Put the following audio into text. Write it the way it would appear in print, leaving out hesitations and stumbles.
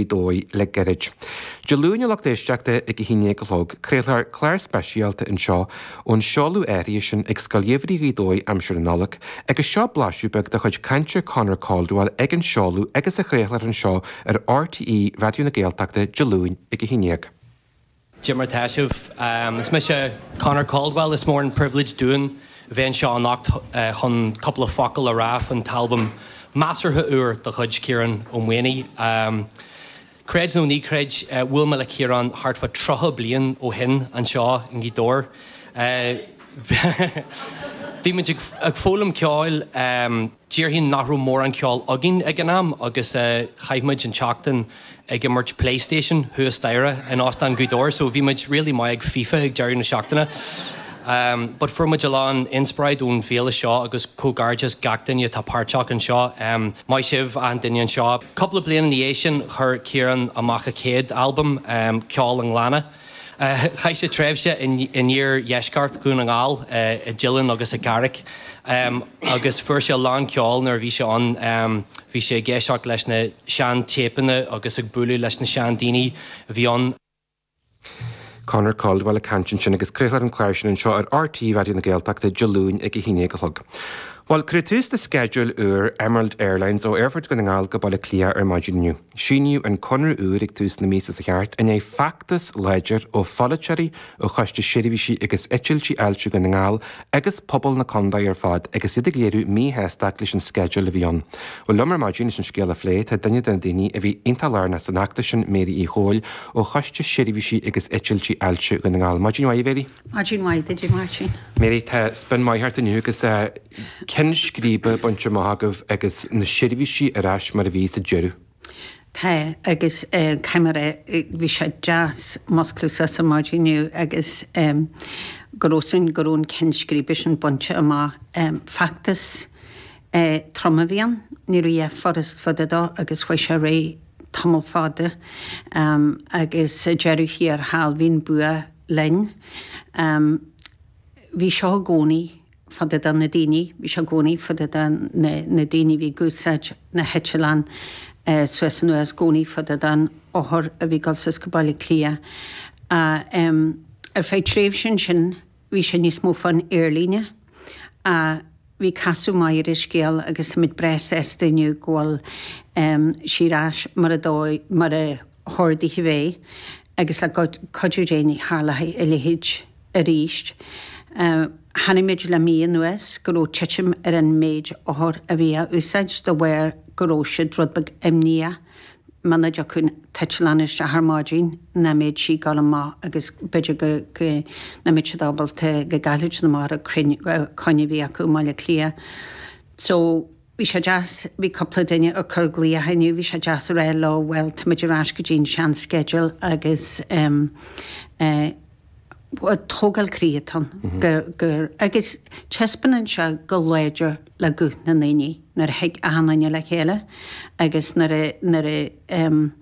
Dóigh le gairid. Dé Luain, a lucht éisteachta, ag a haon déag a chlog, craolfar clár speisialta anseo ón seoladh áirithe sin ag Scoil Gheimhridh Ghaoth Dobhair aimsir na Nollag, agus seo blaiseadh beag de chuid cainte Conor Caldwell ag an seoladh agus a chraolfar anseo ar RTÉ Raidió na Gaeltachta Dé Luain ag a haon déag. Cad é mar tá sibh. Is mise Conor Caldwell. Is mór an pribhléid dúinn a bheith anseo anocht chun cúpla focal a rá faoin t-albam measartha úr de chuid Ciarán Ó Maonaigh. Creid nó ní chreid, bhuail mé le Ciarán thart fá 30 bliain ó shin anseo i nGaoth Dobhair. Bhí muid ag foghlaim ceoil. Déarfainn nach raibh mórán ceoil againn ag an am agus chaith muid an tseachtain ag imirt PlayStation thuas staighre in Óstán Ghaoth Dobhair so bhí muid really maith ag FIFA ag deireadh na seachtaine. But fuair muid a lán inspioráid ón bhféile seo agus comhghairdeas gach duine atá páirteach anseo. Maith sibh achan duine anseo. Cúpla bliain ina dhiaidh sin chuir Ciarán amach a chéad albam, Ceol an Ghleanna. Chaith sé tréimhse in iardheisceart Dhún na nGall, i dTeileann agus i gCarraig, agus fuair sé a lán ceoil nuair a bhí sé ann. Bhí sé ag éisteacht leis na sean-téipeanna agus ag bualadh leis na seandaoine a bhí ann. Conor Caldwell ag caint ansin agus craolfar an clár sin anseo ar RTÉ Raidió na Gaeltachta Dé Luain ag 11 a chlog. Bhuel, cuireadh tús le sceideal úr Emerald Airlines ó Aerfort Dhún na nGall go Baile Átha Cliath ar maidin inniu. Síníodh an conradh úr ag tús na míosa seo thart i ndiaidh feachtas láidir ó pholaiteoirí, ó Choiste Seirbhísí agus Eitiltí Fháilte Dhún na nGall agus pobal na contae ar fad agus iad ag léiriú míshástacht leis an sceideal a bhí ann. Bhuel, liom ar maidin leis an scéal a phlé tá duine de na daoine a bhí iontach lárnach san fheachtas sin, Mary Uí Chomhaill ó Choiste Seirbhísí agus Eitiltí Fháilte Dhún na nGall. Maidin mhaith, a Mhary. Maidin mhaith duit, a Mháirtín. Mary, tá spion maith ort inniu agus ceann scríbe bainte amach agaibh agus na seirbhísí ar ais mar a bhí sa deireadh. Tá, agus caithfidh mé a rá, bhí sé deas musclú suas ar maidin inniu agus go raibh sin, go raibh an ceann scríbe sin bainte amach. Feachtas trom a bhí ann, ní raibh a dhath furast fá dtaobh dó agus chuaigh sé ar aghaidh tamall fada agus sa deireadh thiar thall bhí an bua linn. Bhí seo i gcónaí fá dtaobh de na daoine, bhí seo i gcónaí fá dtaobh de na daoine a bhí ag úsáid na heitleán suas anuas, i gcónaí fá dtaobh den othar a bhí ag dul suas go Baile Átha Cliath. Ar feadh tréimhse ansin bhí sé níos mó fán aerlíne. Bhí casadh maith ar an scéal agus táimid breá sásta inniu go bhfuil sí ar ais mar a dóigh, mar a hordaithe a bheith agus le cuidiú Dé ní tharlóidh a leithéid arís. Chonaic muid le mí anuas go raibh titim ar an méid othar a bhí á úsáid de bharr go raibh siad rud beag imníoch muna dtiocfadh an t-eitleán isteach ar maidin nach mbeadh sí ag dul amach agus b'fhéidir go go nach mbeadh siad ábalta go gcaillfeadh siad amach ar an coinne a bhí acu i mBaile Átha Cliath. So bhí sé deas, bhí cúpla duine ag cur glaoch inniu, bhí sé deas a rá leo bhuel táimid ar ais go dtí an sean sceideal agus em eh tógáil croí atá ann gur gur agus taispeánann sé go láidir le guth na ndaoine nuair a thig achan duine le chéile agus nuair a nuair a em.